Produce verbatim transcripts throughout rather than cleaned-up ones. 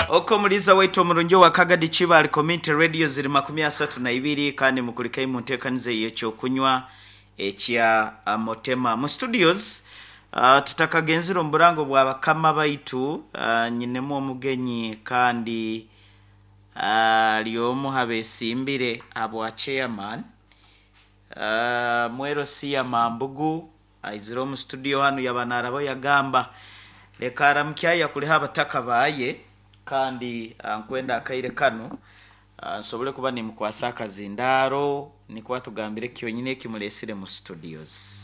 Oko muliza waitu omurungi wa Kagadi Kibaale Community Radio ziri makumi asatu na ibiri, kandi mukulikayo mu nteekaniza ey'ekyokunywa ekya Motema mu studios. uh, tutakagenzire omu burango bwa bakama baitu, uh, nyinemu omugenyi kandi ali uh, omu habesimbire abwa chairman uh, Mwero Siya Mambugu aizire omu studio hanu, yaba narabo yagamba leka aramukya kuliha abataka baye, kandi nkwenda akaire kanu nsobole kuba nimukwasa akazindaro nikuba tugambire kyonyine ekimulesire mu studios.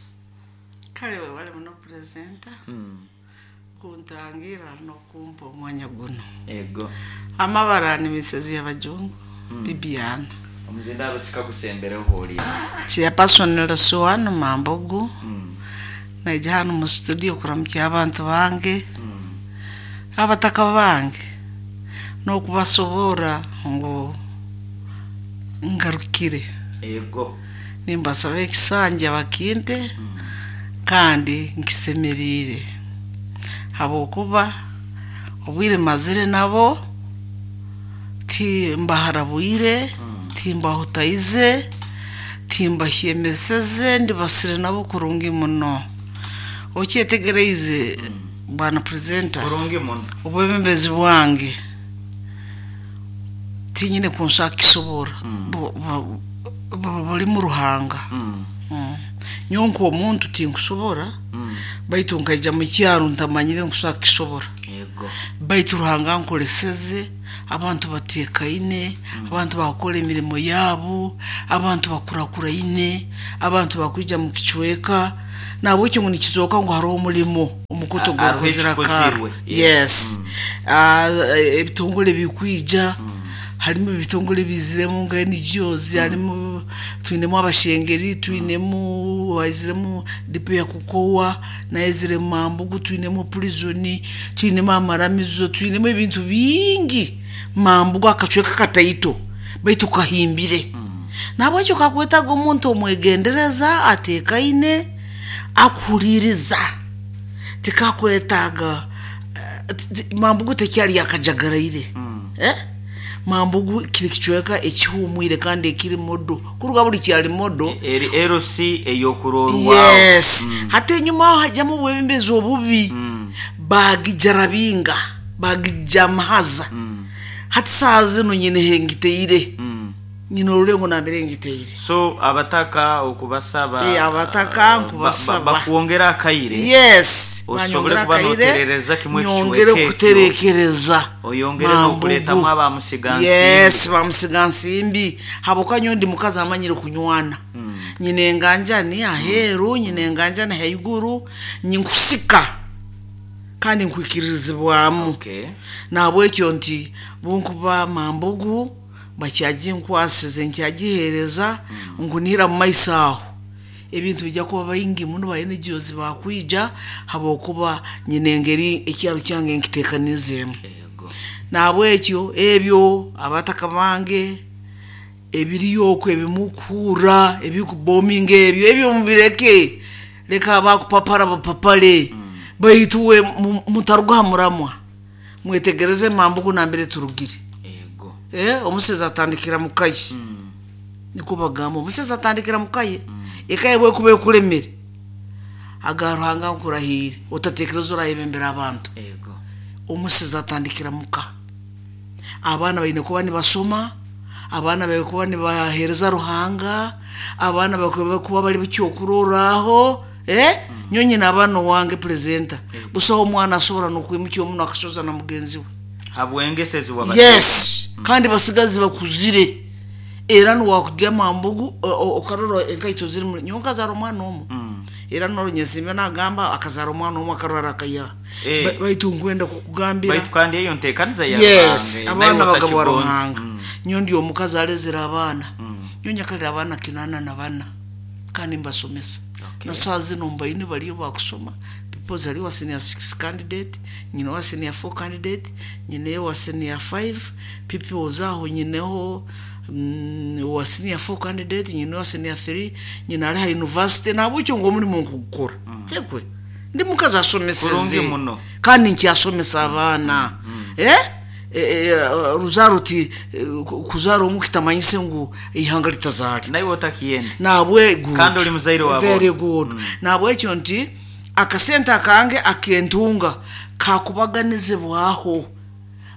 Kale webale muno, presenter, mm. kuntangira n'okumpa omwanya guno. Ego. Amabara ni misezi y'abajungu mm. Bibiana. Omuzindaro sikagusembereho holi. Chairperson Lasuwanu Mambugu. mm. Naija hano mu studio kuramukya abantu bange, mm. abataka bange, n'okubasobora ngu ngarukire. Ego. Nimbasaba ekisanja bakimpe, mm. kandi nkisemeriire habwokuba obwire mazire nabo timbaharabwire, Mm. timbahutaize, timbahyemeseze, ndibasire nabo kurungi muno. Okyetegereize, bwana presenter? Kurungi muno. Obwebembezi bwange tinyine kunshaka kisobora. Mm. Bu- bu- bu- buri mu Ruhanga. mm. Mm. Nyowe nk'omuntu tinkusobora, mm. baitu nkaija mu kyaro ntamanyire nkushaka kisobora, Ego. baitu Ruhanga nkoleseze abantu batekaine, abantu bakukora emirimo yabo, abantu bakurakuraine, abantu bakwija mu kicweka. Nabwekyo ngu nikizooka ngu hariho omulimo omukuto A- hariho gwakuzira ekikozirwe. karo. Yes. Ah, ebitongole bikwija, harimo ebitongole biziremu nka N G Os, harimo twinemu abashengeri, twinemu waiziremu dipo ya kukowa naizire Mambugu, twinemu prison, twinemu amaramizo, twinemu ebintu bingi. Mambugu akacweka kataito baitu kahimbire. Nabwekyo kakwetaga omuntu omwegendereza, atekaine, akuhuliriza. Tikakwetaaga eh, ti- ti- Mambugu tekyali yakajagaraire. Mm. Eh? Mambugu kiri kicweka ekihumwire kandi ekiri modo kuruga buli kyali modo. Eri L C eyokurorwaho. Yes. Hati enyuma aho hajyamu obwebembezi obubi, Mm. bagijarabinga, bagijamahaza. Mm. Hati saaha zino nyine hengiteire, Mm. nyine orulengo nambere ngiteire. So abataka okubasaba, Eh, abataka uh, nkubasaba. ba- ba- bakwongera akaire Yes. osobole banyongera kuba akaire, noterereza kimwe nyongere ekicweka ekyo. kuterekereza Oyongere Mambugu. n'okuleetamu abamusigansimbi. Yes, bamusigansimbi, habwokuba nyowe ndi mukazi amanyire kunywana. Nyine enganjani aheeru, nyine enganjani haiguru, nyinkusika kandi nkwikiririzibwamu. Okay. Nabwekyo nti bunkuba Mambugu bakyaginkwasize, nkyagihereza ngunihira mu maiso aho ebintu bijya kuba baingi muno ba N G Os bakwija, habwokuba nyine engeri ekyaro kyange nkiteekanizeemu. Ego. Nabwekyo ebyo abataka bange ebiriyo okwo ebimukuhurra ebikubominga, ebyo ebyo mubireke, leka bakupapara bapapale, baitu we mu- mutaruga ha muramwa. Mwetegereze Mambugu nambere turugire. Ego. Eh, omusezi atandikira mukaye. Mm. Niko bagamba, omusezi atandikira mukaye. Ekaye bwekuba ekulemere, aga Ruhanga nkurahire otatekereza orayebembera abantu. Ego. Omusezi atandikira muka. Abaana baine kuba nibasoma, abaana baine kuba nibahereza Ruhanga, abaana baine kuba bari bukyokurorraho. Eh, nyo nyina abaana owange, presenter, busaho omwana asobora nokwimukya omuno akasoza na mugenzi we. Habwengesezi waba. Yes, kandi basigazi bakuzire era niwakujya Mambugu o- o- okarora enkaito ziri muri nyowe nkazara omwana omwe. Mm. Era noronyesime nagamba akazara omwana omwe akarwara akayaha. Eh. Ba- baitu nkwenda kukugambira, Baitu kandi eyo nteekaniza ya yes, Ruhanga, abaana nawe bagabwa otakigonza. Ruhanga. Mm. Nyo ndi omukazi alezere abaana. Mm. Nyo nyakalira abaana kinana na bana kandi mbasomesa. Okay. Na saa zino mbaine bariyo bakusoma. Because ali wa senior six candidate, nyina wa senior four candidate, nyineyo wa senior five pupils aho, nyineho mm, wa senior four candidate, nyine wa senior three, nyina ari ha university. Nabwekyo ngu omulimo nkugukora tekwe ndi mukazi Kurungi asomeseze muno. kandi nkyasomesa abaana. Eh, E, e, ruzaro ti e, kuzara omu kitamanyise ngu ihanga litazali Naiwe otakiyenda. Nabwe good. Kandi oli muzaire wa Very bona. good. mm. Nabwekyo nti akasente akange akentunga kakubaganizibwaho,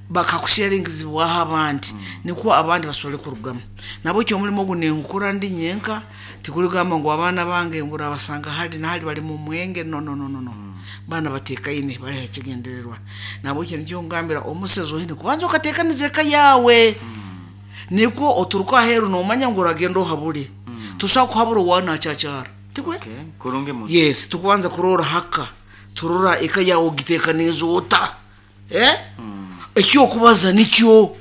bakakusharingizibwaho abandi, mm. nikwo abandi basobole kurugamu. Nabwekyo omulimo ogu nengukora ndi nyenka, tikuligamba ngu abaana bange ngu urabasanga hali nahali bali mu mwenge, no no no no no. mm. Baana batekaine bali hakigendererwa. Nabwekyo nikyo ngambira omusezi ohine kubanza okatekaniza eka yawe, mm. nikwo oturuka aheru nomanya ngu uragenda ohabule. mm. Tusa kuhabura wana achacara tikwe. Okay. Kurungi muno. Yes, tukubanza kurora haka turora eka yawe ogitekaniza ota, eh? mm. Ekyo okubaza nikyo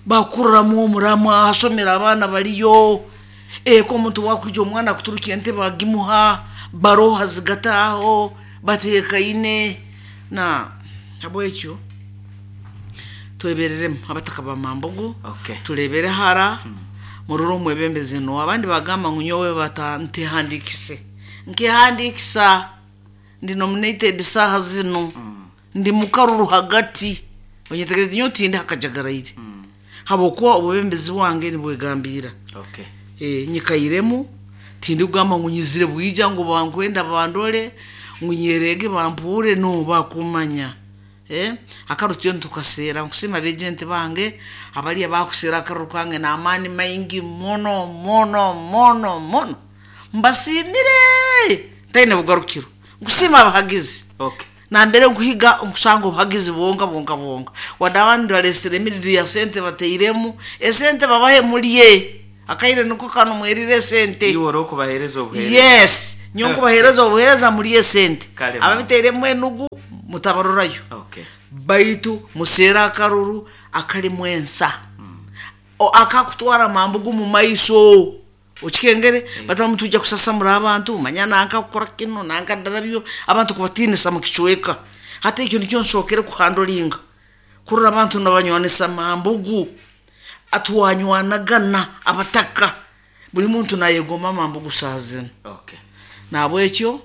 bakurramu omurama asomera abaana baliyo, eko omuntu wakwija omwana akuturuka entebe agimuha baroha zigataho batekaine. Na habwekyo twebereremu abataka ba Mambugu. Okay. Turebere hara, mm. muroro omwebembezi no abandi bagamba ngu nyowe bata ntehandikise nkehandikisa ndi nominated saha zino, mm. ndi mukaruru hagati onyetegereze nyo tindi hakajagaraire, mm. habwokuba obwebembezi bwange nibwegambira. Okay. E, nyikairemu tindi kugamba ngu nyizire bwija ngu bankwenda bandole ngu nyerege bampure, no bakumanya. Eh, akarutyo ntukasera nkusima bejenti bange abali abakusera akaruru kange n'amaani maingi mono mono mono mono, mbasimire ntaine bugarukiro, nkusima abahagizi. Okay. Nambere nkuhiga nkusanga obuhagizi bwonka bwonka bwonka, wadde abandi balesere emiriri ya sente bateiremu esente babahe mulye akaire niko kano mwerire esente. Iwe ori okubahereza obuhereza. Yes, nyo nkubahereza obuhereza mulye esente. Kale. Ababiteiremu enugu mutabarorayo. Okay. Baitu musera akaruru akalimu ensa, mm. akakutwara Mambugu mu maiso okikengere, mm. batamu tujja kusasamura abantu manya nanka kukora kino nanka darabyo abantu kubatinisa mu kicweka. Hata ekyo nikyo nsookere kuhandolinga kurora abantu nabanywanisa Mambugu atwanywanagana abataka buli muntu nayegomba Mambugu saha zino. Okay. Nabwekyo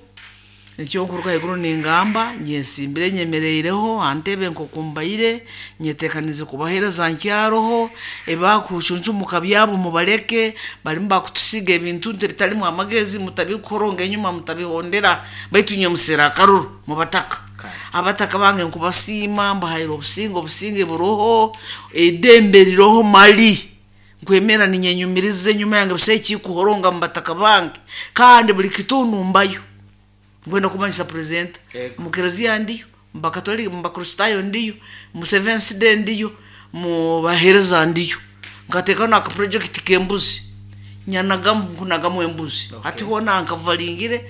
nikyo nkuruka haiguru ningamba nyensimbire nyemereireho antebe nkokumbaire nyetekanize kubahereza nkyaroho ebakucuncumuka byabo mubaleke balimu bakutusiga ebintu bitalimu amagezi mutabikoronga enyuma mutabihondera baitu nye musera akaruru mubataka. Kale. Abataka bange nkubasiima mbahaire obusinge obusinge buroho edembe riroho mali nkwemera ninyenyumiriza enyuma yange busaho ekikuhoronga mubataka bange kandi buli kitundu mbayo nkwenda kumanyisa president Yego. mu kereziya ndiyo, mu bakatolika, mu bakristayo ndiyo, mu Seventh Day ndiyo, mu bahereza ndiyo, nkateekaho naka project k'embuzi nyanagamu nkunagamu embuzi. Okay. Hati hoona nkavaringire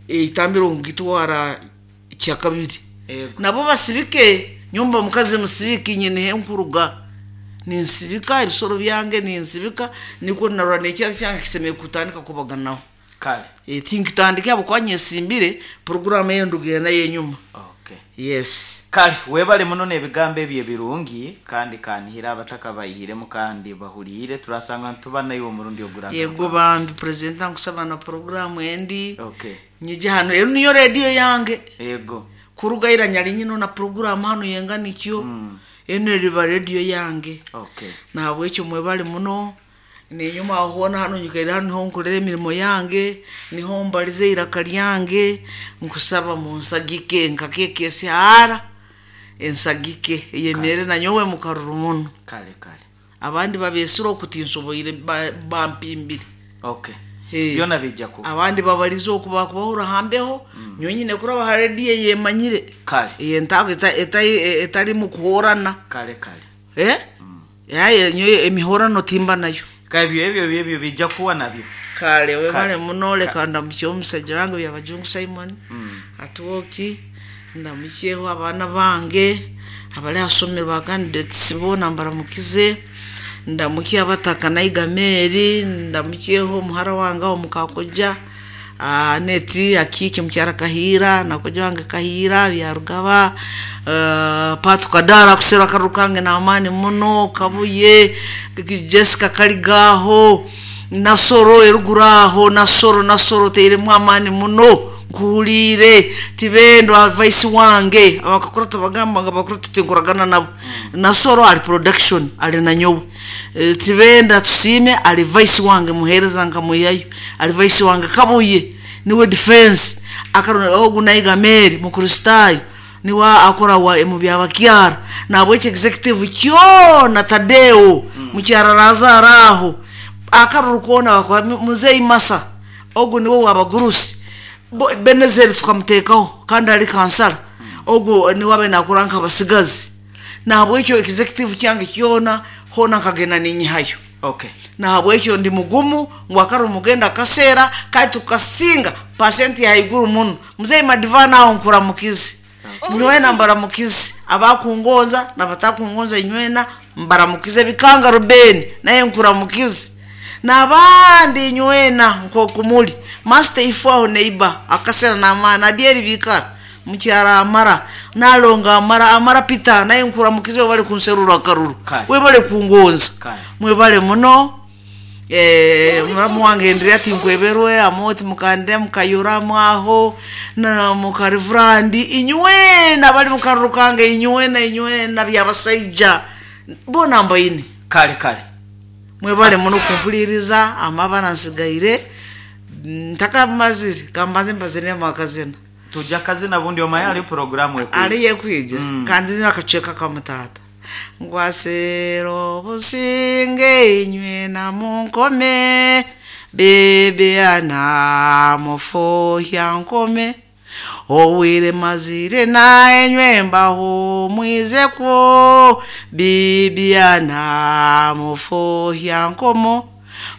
eitambiro ngitwara kyakabiri. Yego. Nabo basibike nyomba mukazi musibike nyine nkuruga ninsibika ebisoro byange ninsibika nikwo narora nekyaro kyange kisemeye kutandika kubaganaho. Kale. E, tinkitandike abo kwanyesimbire poroguramu eyo ndugenda yenyuma. Okay. Yes. Kale webale muno n'ebigambo ebyo ebirungi kandi kanihira abataka bayihiremu kandi bahuriire turasanga ntuba naiwe omurundi oguragaruka. Yego bambi president nkusaba na poroguramu endi. Okay. Nyije hano ero niyo rediyo yange. Yego. Kurugaira nyali nyino na poroguramu hano yenga nikyo, mm. eno eriba rediyo yange. Okay. Nahabwekyo mwebale muno nenyuma aho hano nyikaire hano niho nkorera emirimo yange niho mbalize iraka lyange nkusaba munsagike nkakekesi hara ensagike eyemere nanyowe mukaruru muno. Kale kale. Abandi babesire okutinsoboire ba- bampimbire. Okay. Eh. Byona bijja kuba. Abandi babalize okuba kubahura hambeho, mm. nyonyine kuraba ha rediyo yemanyire. Kale. Eyentago etali mu kuhorana. Kale kale. Eh? Yaye nyowe emihorano timba nayo. Kale ebyo ebyo ebyo bijja kuba nabyo. Kale webale Kale. muno leka ndamukye omusajja wange Byabajungu Simon, mm. atuwoki ndamukyeho abaana bange abali asomero ba candidates boona mbaramukize ndamukye abataka naiga Mary ndamukyeho omuhara wange aho mukakoja neti akiki mukyara Kahira nakoja wange Kahira Byarugaba, uh, Patu Kadara kusera akaruru kange n'amaani muno Kabuye Jessica Kaligaho Nasoro eruguru aho Nasoro Nasoro teiremu amaani muno Nkuhuliire tibendwa vice wange abakakura tubagamba nga bakuru tutinkuragana nabo. Nasoro ali production ali nanyowe. E, tibenda tusime ali vice wange muhereza nkamuyayo ali vice wange Kabuye niwe defense akarona ogu naiga Mary mukristayo niwe akora wa mu byabakyara nabweki executive kyona Tadeo mm. Mukyara Lazaro aho akaruru kona bakora muzeyi Masa ogu niwe wabagurusi Benezeri tukamutekaho kandi ali kansala mm. Ogu niwe abe nakora nk'abasigazi nabwekyo executive kyange kyona hona nkagenda ninyihayo. Okay. Nahabwekyo ndi mugumu ngu akari mugenda kaseera kandi tukasinga pasenti ya haiguru muno. Muzeyi Madivana aho nkuramukizi nywena mbaramukizi abakungonza nabatakungonza nywena mbaramukize bikanga Ruben naye nkuramukizi nabandi nywena nkokumuli master ifo neighbor akasera namana adieri bikara mukyara amara nalonga amara amara Peter naye nkuramukizi bali kunserura akaruru we bali kungonza mwebale muno. Eh muramu wange ndiri ati nkweberwe amoti mukande mukayura mwaho na mukarivrandi inywena bali mukarukange inywena inywena byabasaija bona mbaine kale kale mwebale muno kumpuliriza amabana nsigaire ntaka maziri kambaze mbazine makazina tujja kazina bundi omayali programu ekwija ali yekwija mm. Kandi nakacheka kamutata ngwasero businge inywe na munkome bebe ana mufohya nkome owire mazire na enywe mbaho mwize kwo bibi ana mufohya nkomo